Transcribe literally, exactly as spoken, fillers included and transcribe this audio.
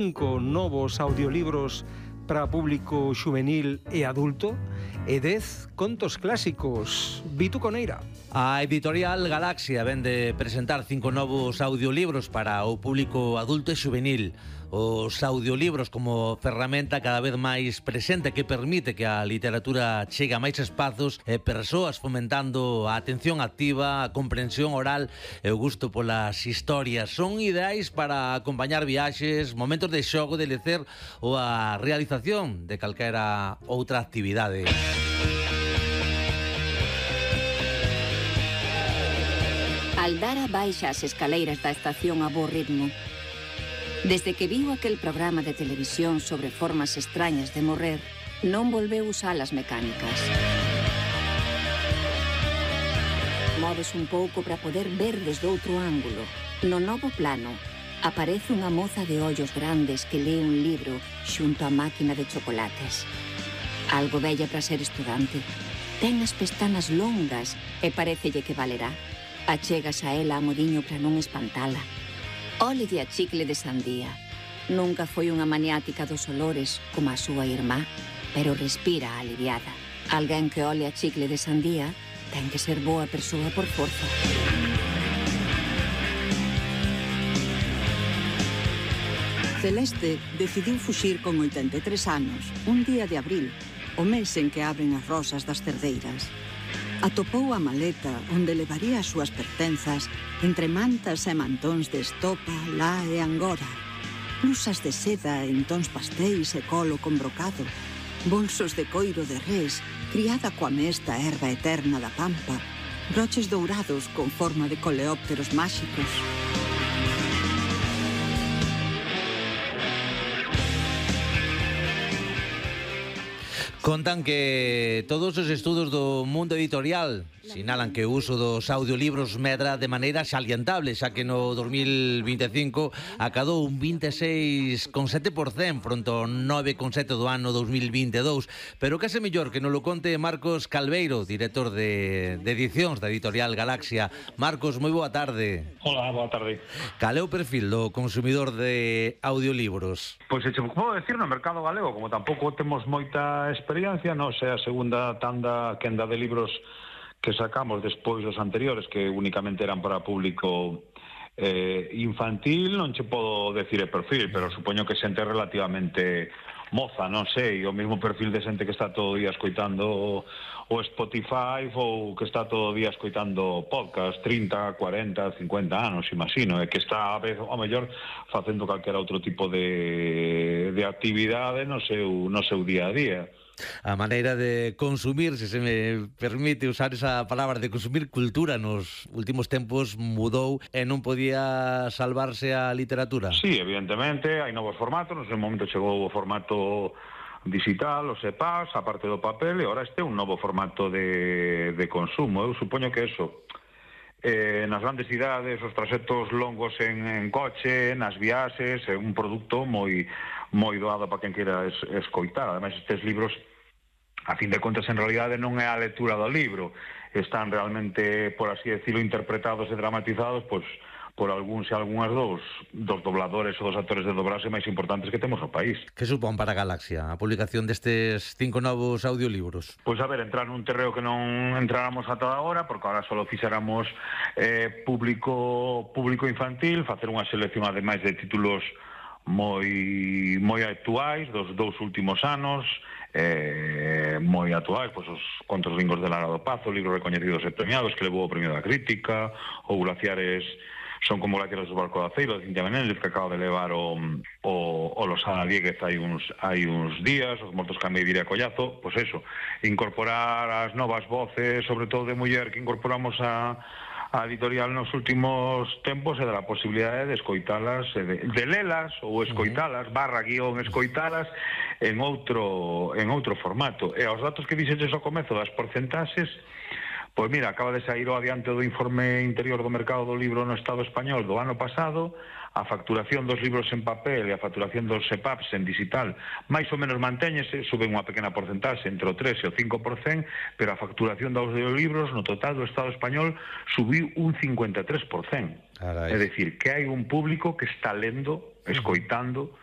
cinco novos audiolibros para público xuvenil e adulto e dez contos clásicos. Vitu Coneira. A editorial Galaxia vende presentar cinco novos audiolibros para o público adulto e xuvenil. Os audiolibros como ferramenta cada vez máis presente que permite que a literatura chegue a máis espazos e persoas, fomentando a atención activa, a comprensión oral e o gusto polas historias. Son ideais para acompañar viaxes, momentos de xogo, de lecer ou a realización de calquera outra actividade. Aldara baixa as escaleiras da estación a bo ritmo. Desde que viu aquel programa de televisión sobre formas extrañas de morrer, non volveu usar as mecánicas. Moves un pouco para poder ver desde outro ángulo. No novo plano, aparece unha moza de ollos grandes que lee un libro xunto á máquina de chocolates. Algo bella para ser estudante. Ten as pestanas longas e parecelle que valerá. Achegas a ela a modiño para non espantala. Ólelle a chicle de sandía. Nunca foi unha maniática dos olores como a súa irmá, pero respira aliviada. Alguén que ole a chicle de sandía ten que ser boa persoa por forza. Celeste decidiu fuxir con oitenta e tres anos, un día de abril, o mes en que abren as rosas das cerdeiras. Atopou a maleta onde levaría as súas pertenzas entre mantas e mantóns de estopa, lá e angora, blusas de seda en tons pastéis e colo con brocado, bolsos de coiro de res, criada coa mesta erva eterna da pampa, broches dourados con forma de coleópteros máxicos. Contan que todos os estudos do mundo editorial sinalan que o uso dos audiolibros medra de maneira salientable, xa que no dos mil vinte e cinco acadou un vinte e seis coma sete por cento fronte ao nove coma sete do ano dos mil vinte e dous. Pero case mellor que nos lo conte Marcos Calveiro, director de, de edicións da editorial Galaxia. Marcos, moi boa tarde. Hola, boa tarde. Cal é o perfil do consumidor de audiolibros? Pois se che podo decir, no mercado galego, como tampouco temos moita experiencia, non sei, a segunda tanda quenda de libros que sacamos despois dos anteriores, que únicamente eran para público eh, infantil, non che podo decir o perfil, pero supoño que xente relativamente moza, non sei, o mesmo perfil de xente que está todo o día escoitando o Spotify ou que está todo o día escoitando podcast, trinta, cuarenta, cincuenta anos, imagino, e que está a vez, ao mellor, facendo calquera outro tipo de, de actividade no seu, no seu día a día. A maneira de consumir, se se me permite usar esa palabra, de consumir cultura nos últimos tempos mudou e non podía salvarse a literatura. Sí, evidentemente, hai novos formatos, no seu momento chegou o formato digital, os E P A S, a parte do papel, e agora este é un novo formato de, de consumo. Eu supoño que eso, eh, nas grandes cidades, os traxectos longos en, en coche, nas viaxes, é un produto moi moi doado para quen queira es, escoitar. Ademais, estes libros, a fin de contas, en realidade non é a lectura do libro, están realmente, por así decirlo, interpretados e dramatizados pois, por algúns e algunhas dos, dos dobladores ou dos actores de doblaxe máis importantes que temos no país. Que supón para a Galaxia a publicación destes cinco novos audiolibros? Pois a ver, entrar nun terreo que non entráramos ata agora, porque agora só fixéramos eh, público, público infantil, facer unha selección ademais de títulos moi moi actuais dos dous últimos anos, eh, moi actuais, pois os Contos Ringos de Lara do Pazo, libros recoñecidos e premiados que levou o premio da crítica, ou Glaciares son como glaciares do Barco de Aceiro de Cintia Menéndez, que acaba de levar o, o, o Losada Dieguez hai uns, hai uns días, os Mortos que amei diría Collazo. Pois eso, incorporar as novas voces, sobre todo de muller, que incorporamos a a editorial nos últimos tempos e da posibilidade de escoitalas, de, de lelas ou escoitalas, barra guión escoitalas en outro en outro formato. E aos datos que dixeches ao comezo das porcentaxes, pois mira, acaba de sair o adiante do informe interior do mercado do libro no Estado español do ano pasado. A facturación dos libros en papel e a facturación dos E P A Ps en digital máis ou menos mantéñese, sube unha pequena porcentaxe entre o tres e o cinco por cento, pero a facturación dos audiolibros no total do Estado español subiu un cincuenta e tres por cento. É dicir, que hai un público que está lendo, escoitando